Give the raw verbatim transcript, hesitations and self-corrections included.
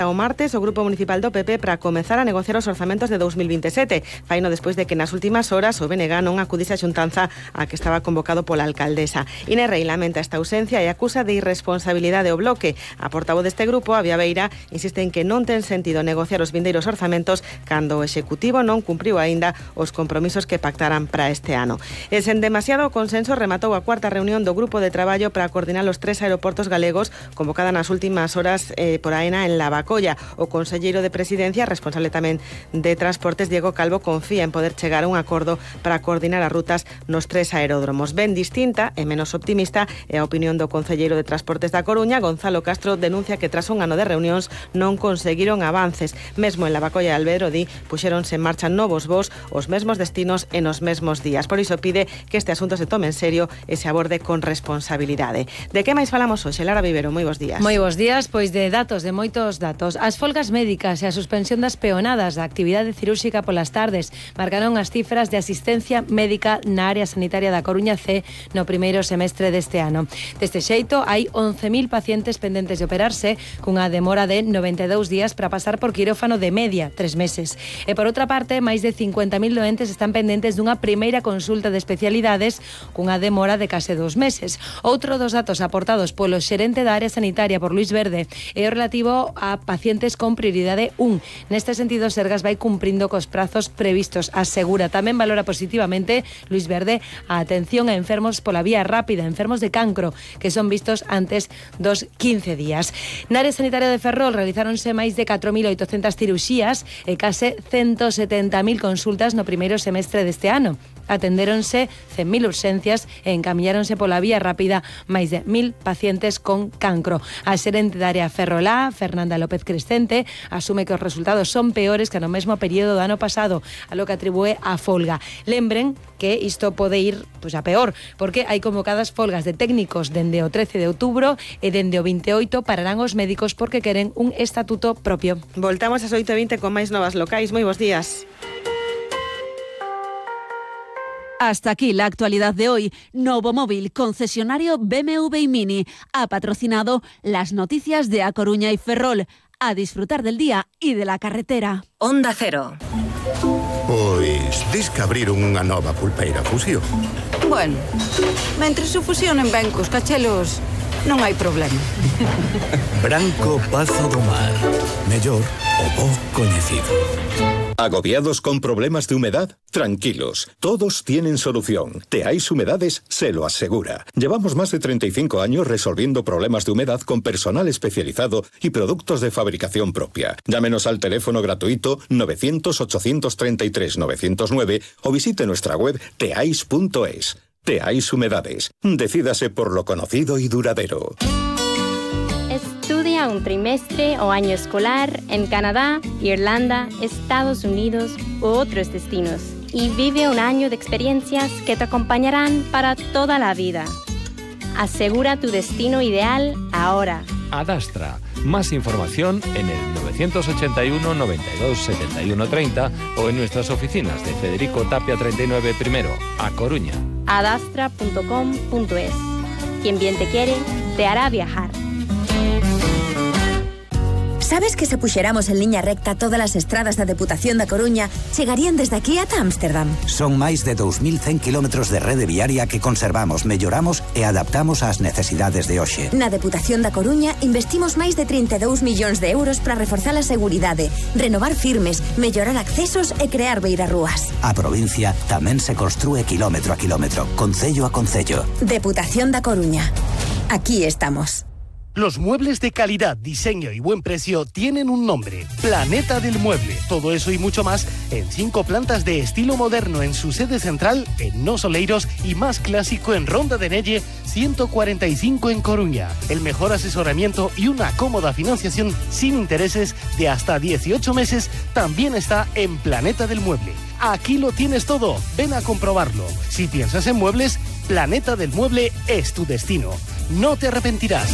O martes o Grupo Municipal do P P para comezar a negociar os orzamentos de dous mil vinte e sete. Faino despois de que nas últimas horas o B N G non acudise a xuntanza a que estaba convocado pola alcaldesa. Inés Rei lamenta esta ausencia e acusa de irresponsabilidade o Bloque. A portavoz deste grupo, a Beira, insiste en que non ten sentido negociar os vindeiros orzamentos cando o Executivo non cumpriu aínda os compromisos que pactaran para este ano. E sen demasiado consenso rematou a cuarta reunión do Grupo de Traballo para coordinar os tres aeroportos galegos convocada nas últimas horas eh, por AENA en Lavacolla. O conselleiro de Presidencia, responsable tamén de Transportes, Diego Calvo, confía en poder chegar a un acordo para coordinar as rutas nos tres aeródromos. Ben distinta e menos optimista é a opinión do conselleiro de Transportes da Coruña. Gonzalo Castro denuncia que tras un ano de reunións non conseguiron avances. Mesmo en Lavacolla e Albero, di, puxéronse en marcha novos voos, os mesmos destinos e nos mesmos días. Por iso pide que este asunto se tome en serio e se aborde con responsabilidade. De que máis falamos hoxe? Lara Vivero, moi bons días. Moi bons días, pois de datos, de moitos datos. As folgas médicas e a suspensión das peonadas da actividade cirúrxica polas tardes marcaron as cifras de asistencia médica na área sanitaria da Coruña C no primeiro semestre deste ano. Deste xeito, hai once mil pacientes pendentes de operarse, cunha demora de noventa e dous días para pasar por quirófano de media, tres meses. E por outra parte, máis de cincuenta mil doentes están pendentes dunha primeira consulta de especialidades cunha demora de case dos meses. Outro dos datos aportados polo xerente da área sanitaria por Luis Verde é o relativo a pacientes con prioridade un. Neste sentido, Sergas vai cumprindo cos prazos previstos. Asegura, tamén valora positivamente Luis Verde a atención a enfermos pola vía rápida, enfermos de cancro, que son vistos antes dos quince días. Na área sanitaria de Ferrol realizáronse máis de catro mil oitocentas cirurxías e case ciento setenta mil consultas no primeiro semestre deste ano. Atendéronse cen mil urxencias e encamiñáronse pola vía rápida máis de mil pacientes con cancro. A xerente da área Ferrolá, Fernanda López Crescente, asume que os resultados son peores que no mesmo período do ano pasado, a lo que atribúe a folga. Lembren que isto pode ir pois, a peor, porque hai convocadas folgas de técnicos dende o trece de outubro e dende o vinte e oito pararán os médicos porque queren un estatuto propio. Voltamos ás oito e vinte con máis novas locais. Moi bons días. Hasta aquí la actualidad de hoy. Novo Móvil, concesionario B M W y Mini, ha patrocinado las noticias de A Coruña y Ferrol. A disfrutar del día y de la carretera. Onda Cero. Pois, dis que abriron unha nova pulpeira Fusión. Bueno, mentres se fusionen ben cos cachelos, non hai problema. Branco Pazo do Mar. Mellor o bo coñecido. ¿Agobiados con problemas de humedad? Tranquilos, todos tienen solución. Teais Humedades se lo asegura. Llevamos más de treinta y cinco años resolviendo problemas de humedad con personal especializado y productos de fabricación propia. Llámenos al teléfono gratuito novecientos, ochocientos treinta y tres, novecientos nueve o visite nuestra web teais punto es. Teais Humedades. Decídase por lo conocido y duradero. Estudia un trimestre o año escolar en Canadá, Irlanda, Estados Unidos u otros destinos y vive un año de experiencias que te acompañarán para toda la vida. Asegura tu destino ideal ahora. Adastra. Más información en el novecientos ochenta y uno, noventa y dos, setenta y uno, treinta o en nuestras oficinas de Federico Tapia treinta y nueve primero, A Coruña. adastra punto com punto es. Quien bien te quiere, te hará viajar. Sabes que se puxéramos en liña recta todas as estradas da Deputación da Coruña chegarían desde aquí ata Ámsterdam? Son máis de dous mil cen kilómetros de rede viaria que conservamos, melloramos e adaptamos ás necesidades de hoxe. Na Deputación da Coruña investimos máis de trinta e dous millóns de euros para reforzar a seguridade, renovar firmes, mellorar accesos e crear beirarrúas. A provincia tamén se construe kilómetro a kilómetro, concello a concello. Deputación da Coruña. Aquí estamos. Los muebles de calidad, diseño y buen precio tienen un nombre: Planeta del Mueble. Todo eso y mucho más en cinco plantas de estilo moderno en su sede central en Nos Oleiros y más clásico en Ronda de Nelle ciento cuarenta y cinco en Coruña. El mejor asesoramiento y una cómoda financiación sin intereses de hasta dieciocho meses también está en Planeta del Mueble. Aquí lo tienes todo, ven a comprobarlo. Si piensas en muebles, Planeta del Mueble es tu destino. No te arrepentirás.